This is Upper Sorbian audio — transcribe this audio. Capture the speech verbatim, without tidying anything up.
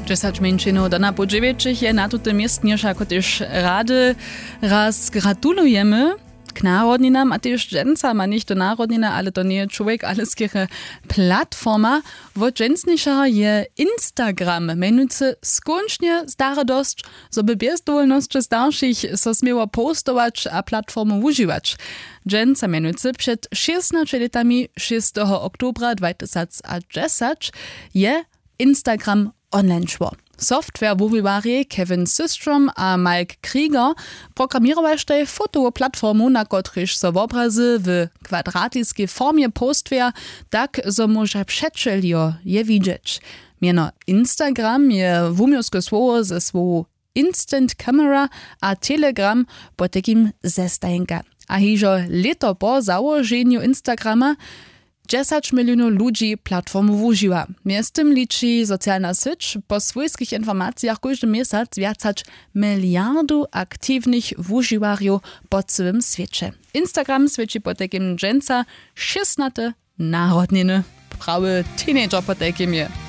Dźesać mjeńšinow do napoł dźewjećich je na tutym městnje wšako tež rady. Raz gratulujemy k narodninam a tež dźensa ma něchtó narodniny, ale to njeje čłowjek ale skerje platforma. Wot dźensnišeho je Instagram mjenujcy skónčnje stare dosć, zo by bjez dowolnosće staršich so směło postować a platformu wužiwać. Dźensa mjenujcy před šěsnaće lětami šěsteho oktobra dwatysacdźesać je Instagram online šło. Softwarewuwiwarjej Kevin Systrom a Mike Krieger programěrowaštej fotowu platformu, na kotrejž so wobrazy w kwadratiskej formje postwja, tak zo móža přećeljo je widźeć. Mjeno Instagram je wuměłske słowo ze słowow instant camera a Telegram potajkim zestajenka. A hižo lěto po załoženju Instagrama dźesać milionow ludźi platformu wužiwa. Mjeztym liči socialna syć po swójskich informacijach kóždy měsac wjac hač miliardu aktiwnych wužiwarjow po cyłym swěće. Instagram swěći potajkim dźensa šěsnate narodniny. Prawy teenager potajkim je.